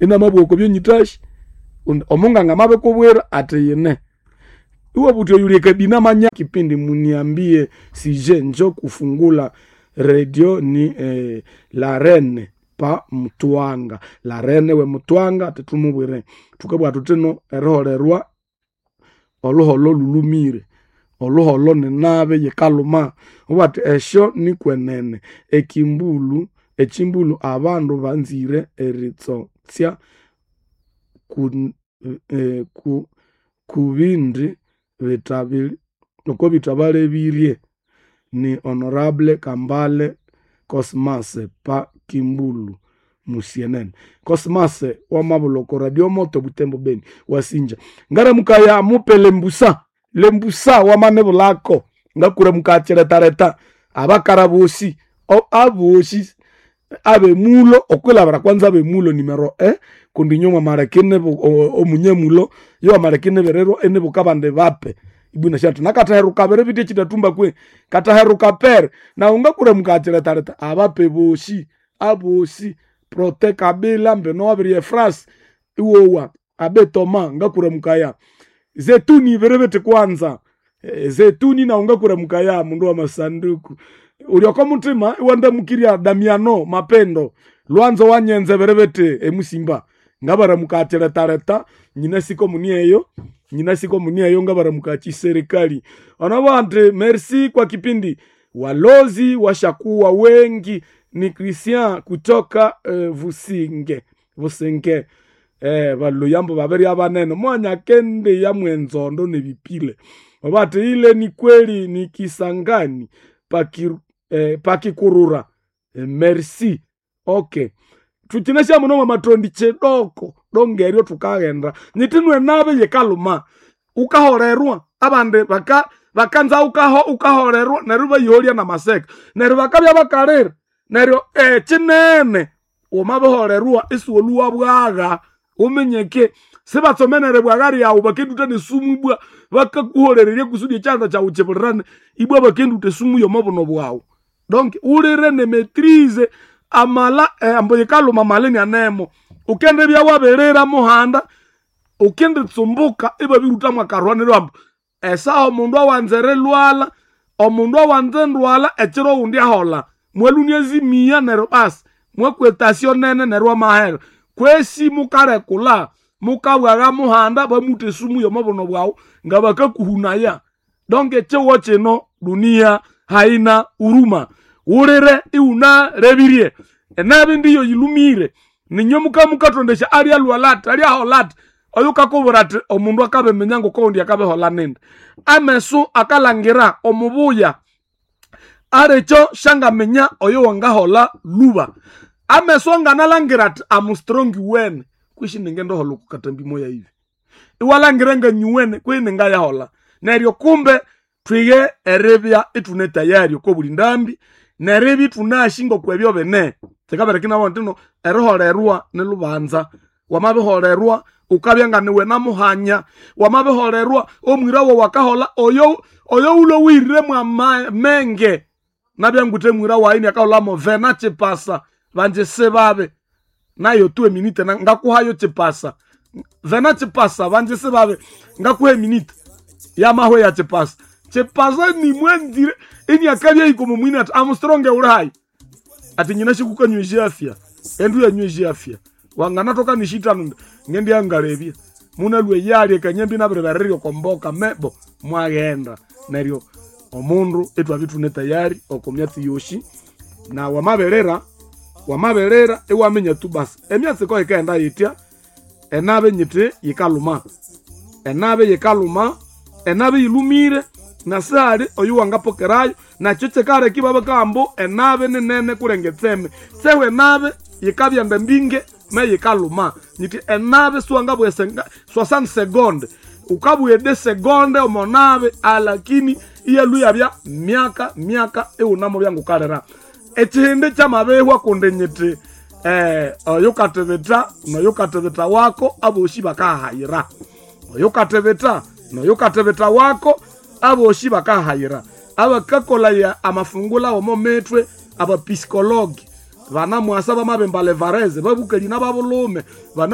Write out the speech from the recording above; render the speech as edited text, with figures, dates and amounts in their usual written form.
Inamabugha okwa byonyĩtashi omunganga amabikubwira athi yine. Iwabugha wuthi oyuli ekabina manya kipindi muniambie sije njo kufungula redio ni la reine pa Mutwanga. La reine we Mutwanga athi thumubwire. Thukabugha thuthino eriholerwa olhuholho lhulhumire. Olhuholho ninabi yikalhuma. Iwathi esyo nikwenene ekimbulhu ekimbulhu abandu banzire eritsotsya kubindi okobithabalebirye ni honorable Kambale Cosmas pa Kimbulu Musienene. Cosmas wamabulha oko radio moto Butembo Beni wasinja. Ngaramukaya mupe lembusa, lembusa wamanibulhako ngakuramukaya kiretareta abakara bosi abosi abemulo okwilabira kwanza abemulo numero e kundi inywe mwamaleka omunyamulo iyo wamaleka inibirirwa inibuka abandi bape ibwina syathi nakathaheruka biri bithi ekyitathumba kwe kathaheruka pere nawu ngakuramukaya kiretareta abape bosi abosi Prote Kabila mbino wabirya efrasi iwowa abe Toma ngakuramukaya zetuni biri bithi kwanza zetuni nawu ngakuramukaya mundu wa masanduku uli oko muthima iwandamukirya Damiano Mapendo lwanzo wanyenze biri bithi emusimba ngabaramukaya kiretareta nyinasi komunieyo nyinasi komunieyo ngabaramukaya kiserikali onabugha andi merci kwa kipindi walozi washakuwa wengi ni Christian kutoka Vusinge Vusinge baluyambo babirya banene mwanya kendiya mwenzondo nebipile bathi ile ni kweli ni Kisangani pakikurura merci okay thukyine syamuno mwamatondi kidoko dongeryo thukaghenda nyithinwe nabi yikalhuma wukaholerwa abandi bakanza wukaholerwa neryo ibayiholya namaseka neryo bakabya bakalira neryo ekyinene wamabiholerwa isiwolhuwa bwagha wuminyeke sibatsomenere bwagha ryawu bakendutha nesumu ibwa bakakuholererya kusudi ekyanda kyawu kibulirane ibwa bakendutha esumu yomo buno bwawu donc wulire ne maitrise amala ambu yikalhuma amala inianemo wukendibya wabirira muhanda wukinditsumbuka ibabirutha mwakarwa neryo ambu esaha omundu awanza erilhwalha omundu awanza endwalha ekiro owundi aholha mwalhunia ezimiya neryo basi mwakwa etasyo nene neryo amahera kwesi mukarekulha mukabwagha muhanda bamutha esumu yomo buno bwawu ngabakakuhunaya donc ekyihugho kino dunia haina huruma wulire iwunalebirye enabi ndiyo yilhumire ninywe mukamukatondesya alyalhwalha athi alyaholha athi oyukakubwira athi omundu akabiminya ngokowundi akabiholha nindi amesu akalhangira omubuya alikyo syangaminya oyo wangaholha lhuba amesu anganalhangira athi am strong wene kwishi ningendiholha oko katambi moya ibi iwalhangira nganyuwene kwihi ningayaholha neryo kumbe thwige eribya ithune tayari oko buli ndambi neribya ithunasi ngokwebyo bine kyikabereka inabugha indi eriholerwa nilhubanza wamabiholerwa wukabya nganiwe namuhanya wamabiholerwa omwira wawu akaholha oyo wulhowirire mwamenge nabya ngwithe mwira wayi iniakaholha vena kyipasa banji sibabi nayo tu eminite ngakuhayo kyipasa vena kyipasa banji sibabi ngakuha eminite yamahwa ya kyipasa kyipasa nimwanzire iniakabya hika omwa mwini athi am strong wuli hayi athi nyina shikukanywa afya endu yanywa afya wanganathoka nishithanu ngendyangalebya munalhwa eyalya ekanyambi nabiribererya oko mboka mebo mwaghenda neryo omundu ithwabya ithune tayari oko myatsi yosi na wamabirira wamabirira iwaminya tu basi emyatsi ko yikaghenda yitya enabi nyithi yikalhuma enabi yikalhuma enabi yilhumire nasihali oyu wangapokerayo nakyo kyikaleka ibabakagamba ambu enabi ninene kulenga etseme sehu enabi yikabyenda mbinge me yikalhuma nyithi enabi siwangabugha 60 seconde wukabugha ede segonde omo nabi alakini iyalhwa iyabya myaka myaka iwunamubya ngukalira ekyihindi kyamabihwa kundi nyithi oyukathibitha noyukathibitha wako abosi bakahayira oyukathibitha noyukathibitha wako abosi bakahayira abakakolaya amafungula omo mithwe abapisikologi banamwasa bamabimba levareze babukali nababulhume bana.